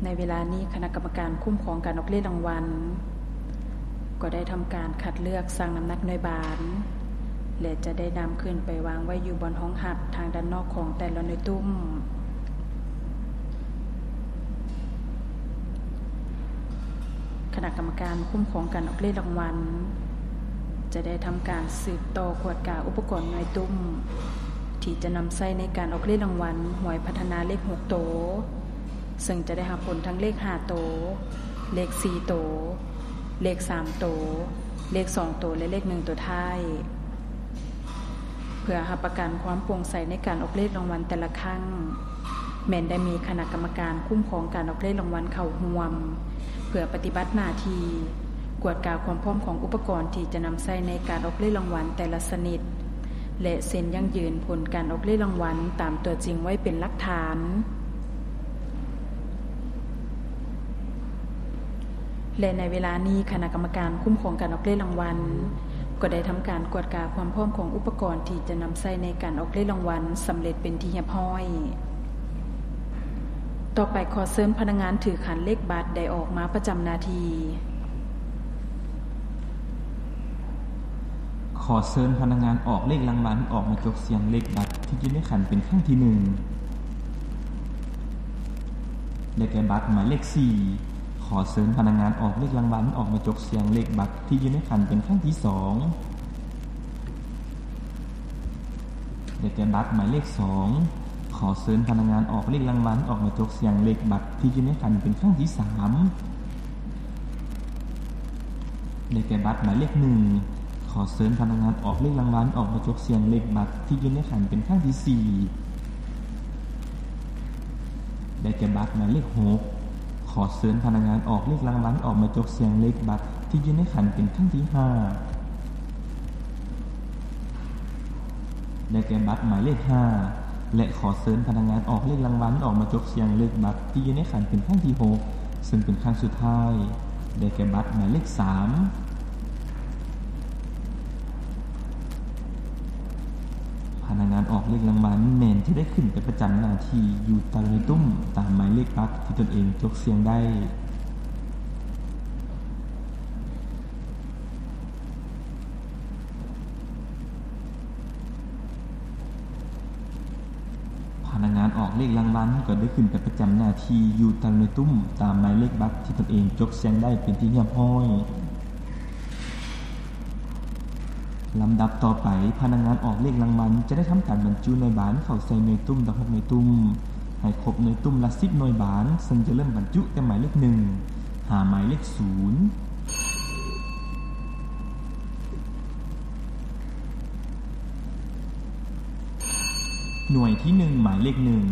ໃນເວລານີ້ ຄະນະກຳມະການຄຸ້ມຄອງການອອກເລກລາງວັນ ກໍໄດ້ທຳການຄັດເລືອກ, ຊັ່ງນ້ຳໜັກໜ່ວຍບານ ແລະ ຈະໄດ້ນຳຂຶ້ນໄປວາງໄວ້ຢູ່ບ່ອນຮອງຮັບທາງດ້ານນອກຂອງແຕ່ລະໜ່ວຍຕຸ້ມ. ຄະນະກຳມະການຄຸ້ມຄອງການອອກເລກລາງວັນ ຈະໄດ້ທຳການສືບຕໍ່ກວດກາອຸປະກອນໜ່ວຍຕຸ້ມ ທີ່ຈະນຳໃຊ້ໃນການອອກເລກລາງວັນຫວຍພັດທະນາເລກຫົກໂຕ, ເຊິ່ງຈະໄດ້ຮັບຜົນທັງເລກຫ້າໂຕ, ເລກສີ່ໂຕ, ເລກສາມໂຕ, ເລກສອງໂຕ ແລະ ເລກໜຶ່ງໂຕທ້າຍ. ເພື່ອຮັບປະກັນຄວາມໂປ່ງໃສໃນການອອກເລກລາງວັນແຕ່ລະຄັ້ງ, ແມ່ນໄດ້ມີຄະນະກຳມະການຄຸ້ມຄອງການອອກເລກລາງວັນເຂົ້າຮ່ວມ ເພື່ອປະຕິບັດໜ້າທີ່ກວດກາຄວາມພ້ອມຂອງອຸປະກອນທີ່ຈະນຳໃຊ້ໃນການອອກເລກລາງວັນແຕ່ລະຊະນິດ ແລະ ເຊັນຢັ້ງຢືນຜົນການອອກເລກລາງວັນຕາມຕົວຈິງໄວ້ເປັນຫຼັກຖານ. ແລະ ໃນເວລານີ້ ຄະນະກຳມະການຄຸ້ມຄອງການອອກເລກລາງວັນ ກໍໄດ້ທຳການກວດກາຄວາມພ້ອມຂອງອຸປະກອນທີ່ຈະນຳໃຊ້ໃນການອອກເລກລາງວັນສຳເລັດເປັນທີ່ຮຽບຮ້ອຍ. ຕໍ່ໄປ ຂໍເຊີນພະນັກງານຖືຂັນເລກບັດໄດ້ອອກມາປະຈຳໜ້າທີ່. ຂໍເຊີນພະນັກງານອອກເລກລາງວັນອອກມາຈົກສ່ຽງເລກບັດທີ່ຢູ່ໃນຂັນເປັນຄັ້ງທີໜຶ່ງ ໄດ້ແກ່ບັດໝາຍເລກສີ່. ຂໍເຊີນພະນັກງານອອກເລກລາງວັນອອກມາຈົກສ່ຽງເລກບັດທີ່ຢູ່ໃນຂັນເປັນຄັ້ງທີສອງ ໄດ້ແກ່ບັດໝາຍເລກສອງ. ຂໍເຊີນພະນັກງານອອກເລກລາງວັນອອກມາຈົກສ່ຽງເລກບັດທີ່ຢູ່ໃນຂັນເປັນຄັ້ງທີສາມ ໄດ້ແກ່ບັດໝາຍເລກໜຶ່ງ. ຂໍເຊີນພະນັກງານອອກເລກລາງວັນອອກມາຈົກສ່ຽງເລກບັດທີ່ຢູ່ໃນຂັນເປັນຄັ້ງທີສີ່ ໄດ້ແກ່ບັດໝາຍເລກຫົກ. ຂໍເຊີນພະນັກງານອອກເລກລາງວັນອອກມາຈົກສ່ຽງເລກບັດທີ່ຢູ່ໃນຂັນເປັນຄັ້ງທີຫ້າ ໄດ້ແກ່ບັດໝາຍເລກຫ້າ ແລະ ຂໍເຊີນພະນັກງານອອກເລກລາງວັນອອກມາຈົກສ່ຽງເລກບັດທີ່ຢູ່ໃນຂັນເປັນຄັ້ງທີຫົກ ເຊິ່ງເປັນຄັ້ງສຸດທ້າຍ ໄດ້ແກ່ບັດໝາຍເລກສາມ. ພະນັກງານອອກເລກລາງວັນແມ່ນຈະໄດ້ຂຶ້ນໄປປະຈຳໜ້າທີ່ຢູ່ຕາມໜ່ວຍຕຸ້ມຕາມໝາຍເລກບັດທີ່ຕົນເອງຈົກສ່ຽງໄດ້. ພະນັກງານອອກເລກລາງວັນກໍໄດ້ຂຶ້ນໄປປະຈຳໜ້າທີ່ຢູ່ຕາມໜ່ວຍຕຸ້ມຕາມໝາຍເລກບັດທີ່ຕົນເອງຈົກສ່ຽງໄດ້ເປັນທີ່ຮຽບຮ້ອຍ. ລຳດັບຕໍ່ໄປ, ພະນັກງານອອກເລກລາງວັນຈະໄດ້ທຳການບັນຈຸໜ່ວຍບານເຂົ້າໃສ່ໜ່ວຍຕຸ້ມທັງຫົກໜ່ວຍຕຸ້ມ ໃຫ້ຄົບໜ່ວຍຕຸ້ມລະສິບໜ່ວຍບານ, ເຊິ່ງຈະເລີ່ມບັນຈຸແຕ່ໝາຍເລກໜຶ່ງ ຫາໝາຍເລກສູນ. ໜ່ວຍທີໜຶ່ງ ໝາຍເລກໜຶ່ງ.